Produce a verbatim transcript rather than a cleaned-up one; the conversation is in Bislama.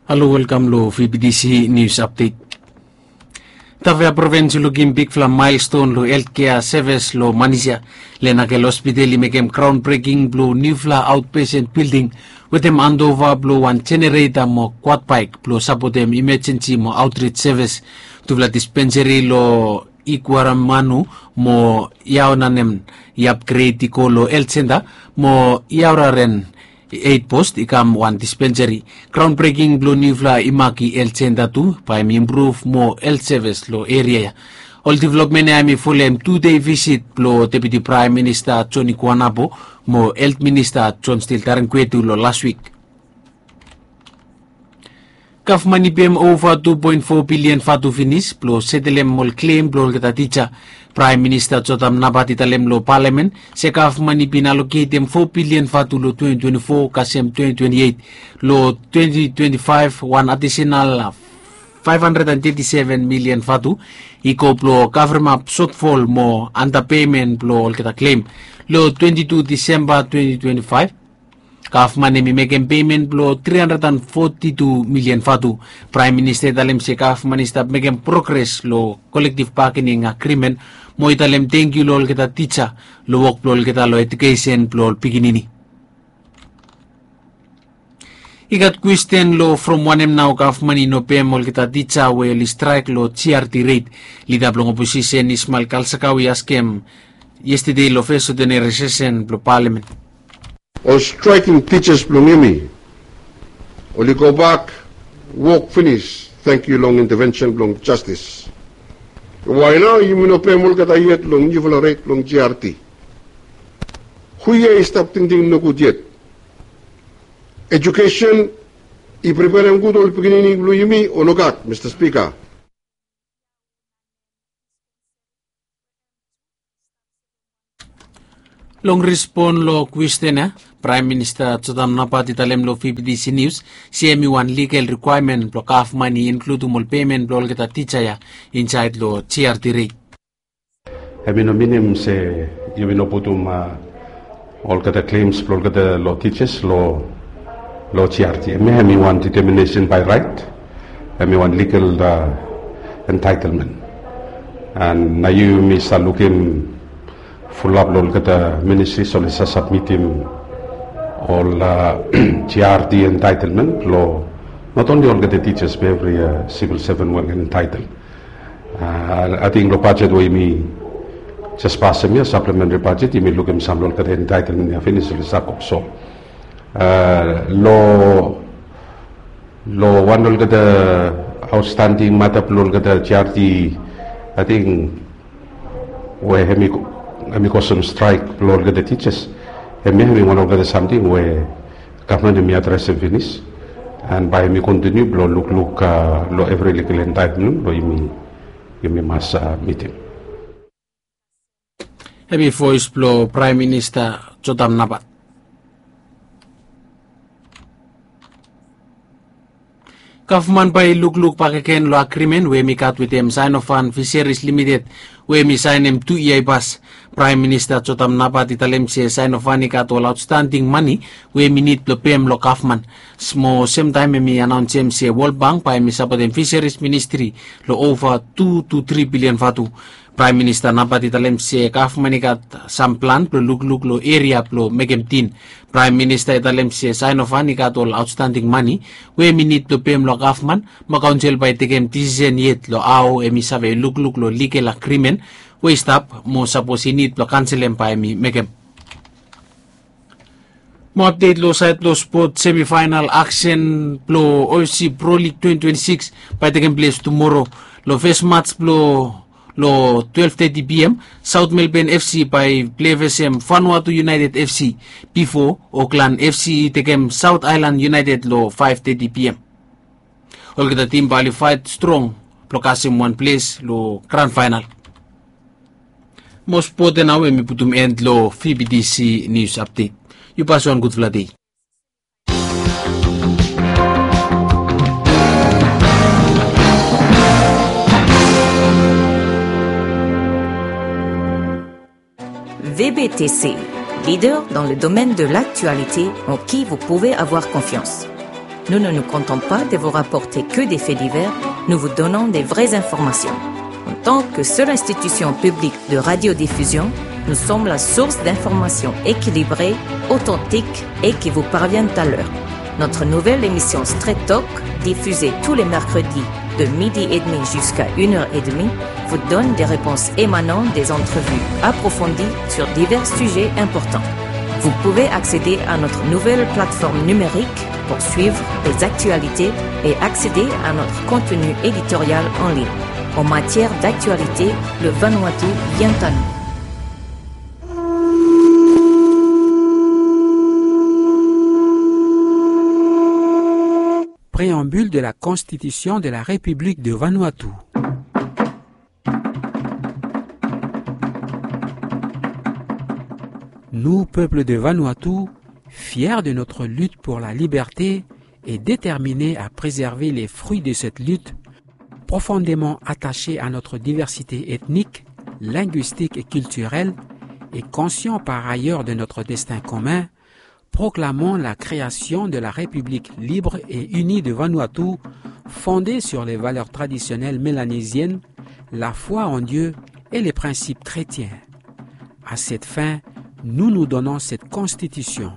Halo, welkam lo V B T C News Update. Tafea provins i lukim bigfala maelston lo heltkea sevis lo Manisia. Lenakel Hospital i mekem graon breking blo niufala aotpesen bilding wetem andova blo wan jenereta mo kwad baek blo sapotem imejensi mo aotrit sevis. Tufala dispenseri lo Iguaramanu mo Iaonanem i apgred i go lo helt senta mo Iaoraren eit post i kam wan dispenseri. Graon breking blo niufala i mak i helt senta tu bae hem i impruv mo helt sevis lo eria ya. Ol developmen ya hem i folem tu dei visit blo Deputi Praem Minista Joni Kuanapo mo Helt Minista Jon Stil Tarenkuetu lo las wik. Gavman i pem ova tu poen fo bilian vatu finis blo setelem ol klem blo olgeta tija. Praem Minista Jotam Napat i talem lo palamen se gavman i bin aloketem fo bilian vatu lo twenti twenti fo kasem twenti twenti eit, lo twenti twenti faef wan adisenal faef handred and teti seven milian vatu i go blo kavremap sotfol mo andapeimen blo olgeta klem. Lo twenti tu Disemba twenti twenti faef, gavman hem i mekem peimen blo tri handred and foti tu milian vatu. Praem Minista i talem se gavman i stap mekem progres lo kolektiv bagening agrimen mo i talem tengkiu lo olgeta tija lo wok blo olgeta lo ejukesen blo ol pikinini. I gat kwesten lo from wanem nao gavman i no pem olgeta tija we oli straek lo G R T reit. Lida blong oposisen Ismael Kalsakau i askem yestede lo fes odenere sesen blo palamen. Ol straeking tijas blong yumi oli gobak wok finis, tangkiu long intevensen blong jastis. Wae nao yumi no pem olgeta yet long niufala ret blong G R T? Hu yia i stap tingting nogud yet? Ejukesen i preperem gud ol pikinini blong yumi o nogat, Mista Spika? Long respon lo kwesten ya, Praem Minista Jotam Napat i talem lo V B T C Nius se hem i wan ligal rikwaemen blo gavman i inkludim ol peimen blo olgeta tija ya insaed lo G R T reit. Hem i no minim se yumi no putum olgeta klems blo olgeta lo tijas lo lo G R T. Hem ya hem i wan deteminesen bae raet. Hem i wan ligal entaetelmen. An nao yumi save lukim fulap lo olgeta ministris oli save sabmitim ol G R T entaetelmen lo not onli olgeta tijas be evri sivil seven we oli entaetel. Ating lo bajet we yumi jes pasem ya, saplementri bajet, yumi lukim sam lo olgeta entaetelmen ya finis oli save go so. Lo lo wan lo olgeta aotstanding mata blo olgeta G R T, ating we hem i go sem straek blo olgeta tijas. Hem ya hem i wan olgeta samting we gavman hem i adresem finis. An bae hem i kontiniu blo lukluk lo evri ligal entaetelmen blo yumi mas mitim. Hem i voes blo Praem Minista Jotam Napat. Gavman bae i lukluk bakegen lo agrimen we hem i gat wetem Saenofan Fiseris Limited we hem i saenem tu yia i pas. Praem Minista Jotam Napat i talem se Saenofan i gat ol aotstanding mane we hem i nid blo pem lo gavman. Mo semtaem hem i anaonsem se Wol Bank bae hem i sapotem Fiseris Ministri lo ova tu tu tri bilian vatu. Praem Minista Napat i talem se gavman i gat sam plan blo lukluk lo eria blo mekem tin. Praem Minista i talem se Saenofan i gat ol aotstanding mane we hem i nid blo pem lo gavman, mo kaonsel bae i tekem disisen yet lo hao hem i save lukluk lo ligal agrimen we i stap, mo sapos i nid blo kanselem bae hem i mekem. Mo apdet lo saed blo spot, semifaenal aksen blo O F C Pro League twenti twenti sikis bae i tekem ples tumoro. Lo fes mats blo lo twelve thirty P M, South Melbourne F C bae i plei vesem Vanuatu United F C bifo Auckland F C i tekem South Island United lo five thirty P M. Olgeta tim bae oli faet strong blo kasem wan ples lo gran faenal. Mo spot ya nao we mi putum end lo V B T C News Update. Yu pasim wan gudfala dei. V B T C, leader dans le domaine de l'actualité en qui vous pouvez avoir confiance. Nous ne nous contentons pas de vous rapporter que des faits divers, nous vous donnons des vraies informations. En tant que seule institution publique de radiodiffusion, nous sommes la source d'informations équilibrées, authentiques et qui vous parviennent à l'heure. Notre nouvelle émission Straight Talk, diffusée tous les mercredis de midi et demi jusqu'à une heure et demie, vous donne des réponses émanant des entrevues approfondies sur divers sujets importants. Vous pouvez accéder à notre nouvelle plateforme numérique pour suivre les actualités et accéder à notre contenu éditorial en ligne. En matière d'actualité, le Vanuatu vient à nous. Préambule de la Constitution de la République de Vanuatu. Nous, peuple de Vanuatu, fiers de notre lutte pour la liberté et déterminés à préserver les fruits de cette lutte, profondément attachés à notre diversité ethnique, linguistique et culturelle, et conscients par ailleurs de notre destin commun, proclamons la création de la République libre et unie de Vanuatu, fondée sur les valeurs traditionnelles mélanésiennes, la foi en Dieu et les principes chrétiens. À cette fin, nous nous donnons cette constitution.